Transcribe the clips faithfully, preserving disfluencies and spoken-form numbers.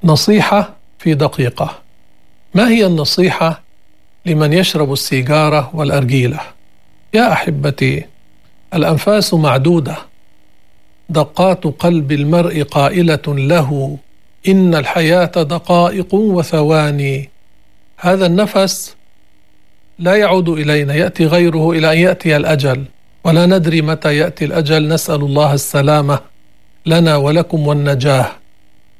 نصيحة في دقيقة. ما هي النصيحة لمن يشرب السيجارة والأرجيلة؟ يا أحبتي، الأنفاس معدودة، دقات قلب المرء قائلة له إن الحياة دقائق وثواني. هذا النفس لا يعود إلينا، يأتي غيره إلى أن يأتي الأجل، ولا ندري متى يأتي الأجل. نسأل الله السلامة لنا ولكم والنجاة.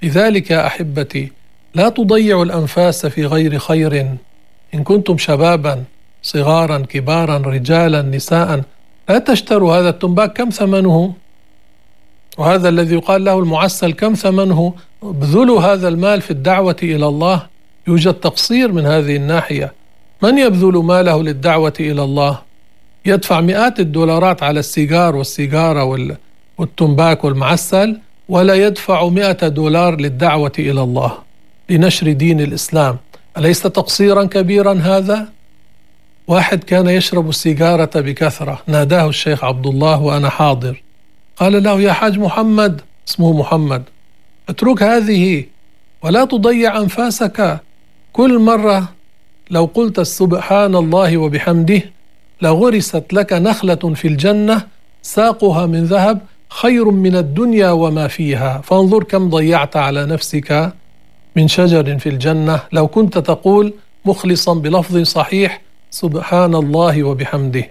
لذلك يا أحبتي، لا تضيعوا الأنفاس في غير خير. إن كنتم شبابا صغارا كبارا رجالا نساء، لا تشتروا هذا التنباك. كم ثمنه؟ وهذا الذي يقال له المعسل كم ثمنه؟ ابذلوا هذا المال في الدعوة إلى الله. يوجد تقصير من هذه الناحية. من يبذل ماله للدعوة إلى الله؟ يدفع مئات الدولارات على السيجار والسيجارة والتنباك والمعسل، ولا يدفع مئة دولار للدعوة إلى الله لنشر دين الإسلام. أليس تقصيرا كبيرا هذا؟ واحد كان يشرب السيجارة بكثرة، ناداه الشيخ عبد الله وأنا حاضر، قال له يا حاج محمد، اسمه محمد، اترك هذه ولا تضيع أنفاسك. كل مرة لو قلت سبحان الله وبحمده لغرست لك نخلة في الجنة ساقها من ذهب خير من الدنيا وما فيها. فانظر كم ضيعت على نفسك من شجر في الجنة لو كنت تقول مخلصا بلفظ صحيح سبحان الله وبحمده.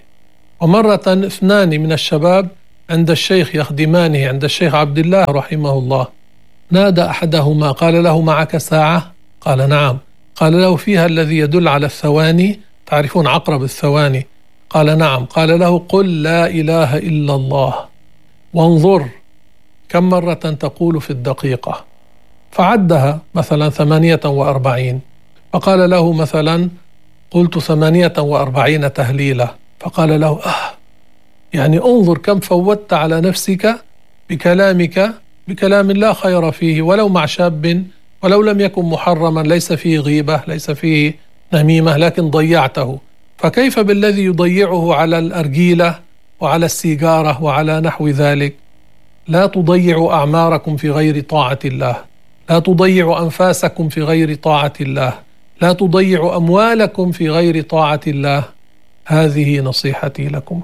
ومرة اثنان من الشباب عند الشيخ يخدمانه، عند الشيخ عبد الله رحمه الله، نادى أحدهما قال له معك ساعة؟ قال نعم. قال له فيها الذي يدل على الثواني، تعرفون عقرب الثواني؟ قال نعم. قال له قل لا إله إلا الله، وانظر كم مرة تقول في الدقيقة. فعدها مثلا ثمانية وأربعين، فقال له مثلا قلت ثمانية وأربعين تهليلة. فقال له آه يعني انظر كم فوتت على نفسك بكلامك، بكلام لا خير فيه، ولو مع شاب، ولو لم يكن محرما، ليس فيه غيبة، ليس فيه نميمة، لكن ضيعته. فكيف بالذي يضيعه على الأرجيلة وعلى السيجارة وعلى نحو ذلك؟ لا تضيعوا أعماركم في غير طاعة الله، لا تضيعوا أنفاسكم في غير طاعة الله، لا تضيعوا أموالكم في غير طاعة الله. هذه نصيحتي لكم.